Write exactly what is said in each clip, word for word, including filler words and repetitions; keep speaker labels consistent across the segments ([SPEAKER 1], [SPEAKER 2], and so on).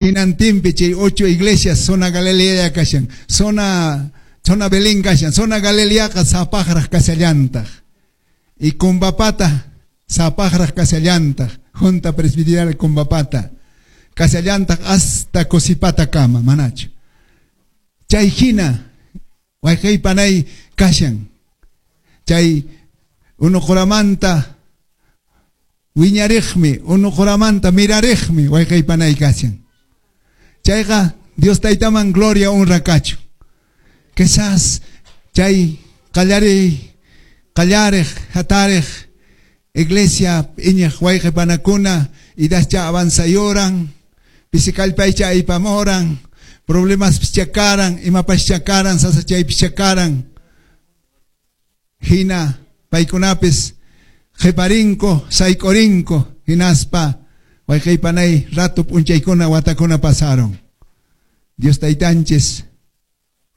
[SPEAKER 1] Hinantinpi chay ocho iglesias zona Galilea kashan, zona zona Belén kashan, zona Galileaqa sapaqraq kashallantaq. Y Combapata sapaqraq kashallantaq, Junta Presbiterial Combapata kashallantaq hasta Cosipata kama, manachu. Chay hina wayqaypanay kashan. Chay unuquramanta wiñariqmi, unuquramanta mirariqmi wayqaypanay kashan. Chayqa Dios taytaman gloria honra kachu. Quizás chay qallari qallariq hatariq iglesia iñiq wayqipanakuna idascha avanzayoran, pisikallpaycha aypamoran, problemas pichakaran, imapascha karan, sasachay pichakaran. Hina paykunapis qhiparinko, sayk'urinko, hinaspa wayqaypanay rato p'unchaykuna watakuna pasaron. Dios taytanchis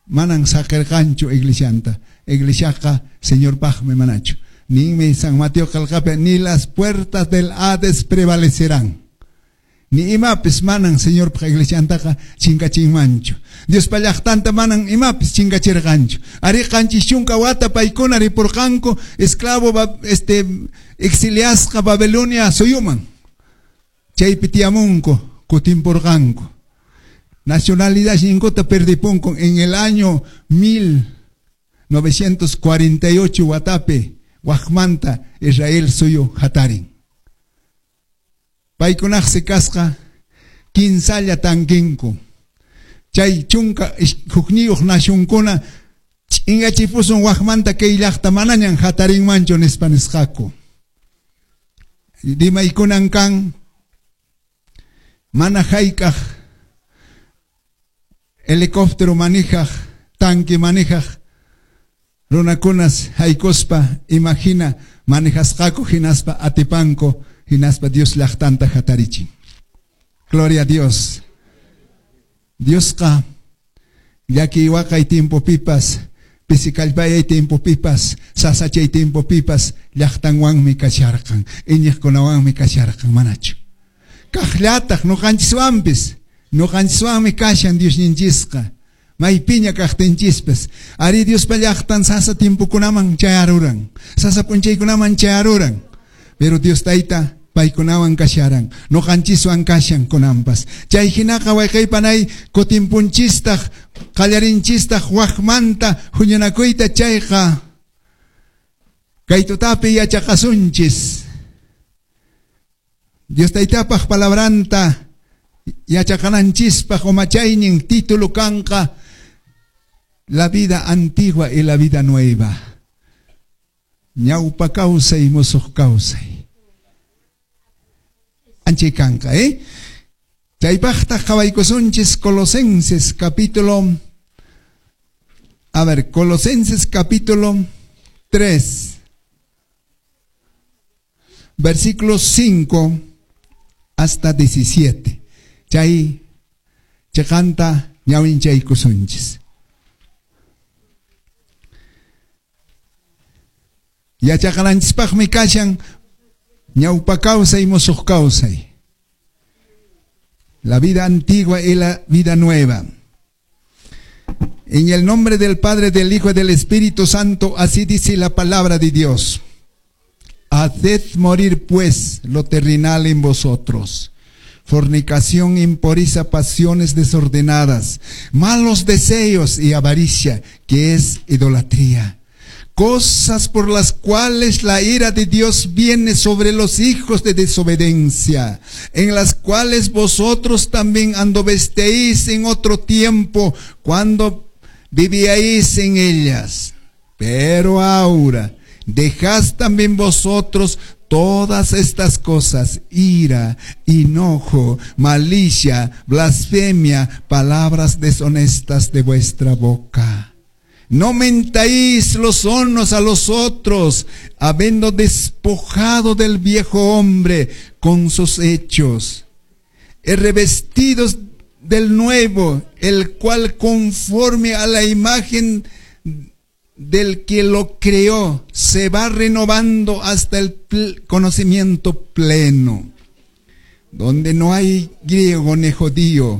[SPEAKER 1] manan saqirqanchu iglesianta. Iglesiaqa Señorpaqmi manachu. Ninmi San Mateo qillqapi ni las puertas del Hades prevalecerán. Ni imapis manan Señorpaq iglesiantaqa chinkachinmanchu. Diospa llaqtanta manan imapis chinkachirqanchu. Ari qanchis chunka wata paykuna ripurqanku esclavo este exiliasqa Babilonia suyuman. Chaypi tiyamunku kutimpurqanku. Nacionalidad ninkuta perdipunku en el año mil novecientos cuarenta y ocho watapi waqmanta Israel suyu hatarin. Paykunaqsi kasqa kinsalla tankinku. Chay chunka hukniyuq nacionkuna ch'ingachipusun waqmanta kay llaqta manañan hatarinmanchu nispa nisqaku. Rimaykunan kan mana hayk'aq helicóptero manejaq, tanque manejaq runakunas haykuspa imagina manejasqaku hinaspa atipanku hinaspa Dios llaqtanta hatarichin. Gloria a Dios. Diosqa llaki waqay tiempopipas, pisikallpayay tiempopipas, sasachay tiempopipas llaqtanwanmi kasharqan, iñiqkunawanmi kasharqan manachu. Kaqllataq ñuqanchiswanpis, ñuqanchiswanmi kashan Diosninchisqa. Maypiña kaqtinchispas. Ari Diospa llaqtan sasa tiempokunaman chayaruran, sasa p'unchaykunaman chayaruran. Pero Dios tayta paykunawan kasharan, ñuqanchiswan kashan kunanpas. Chay hinaqa wayqaypanay kutimpunchistaq, qallarinchistaq waqmanta huñunakuyta chayqa kay tutapi yachaqasunchis. Dios taytapaq palabranta yachaqananchispaq umachaynin título kanqa la vida antigua y la vida nueva. Ñawpa kawsay musuq kawsay. Anchay kanqa, eh? Chaypaqtaq qhawaykusunchis Colosenses capítulo, a ver, Colosenses capítulo tres, versículos cinco hasta diecisiete. Chay chaqanta ñawinchaykusunchis. Yachaqananchispaqmi kashan ñawpa kawsay musuq kawsay. La vida antigua y la vida nueva. En el nombre del Padre, del Hijo y del Espíritu Santo, así dice la palabra de Dios. Haced morir pues lo terrenal en vosotros. Fornicación, impureza, pasiones desordenadas, malos deseos y avaricia, que es idolatría. Cosas por las cuales la ira de Dios viene sobre los hijos de desobediencia, en las cuales vosotros también anduvisteis en otro tiempo, cuando vivíais en ellas. Pero ahora dejad también vosotros todas estas cosas: ira, enojo, malicia, blasfemia, palabras deshonestas de vuestra boca. No mentáis los unos a los otros, habiendo despojado del viejo hombre con sus hechos, y revestidos del nuevo, el cual conforme a la imagen del que lo creó, se va renovando hasta el pl- conocimiento pleno. Donde no hay griego ni judío,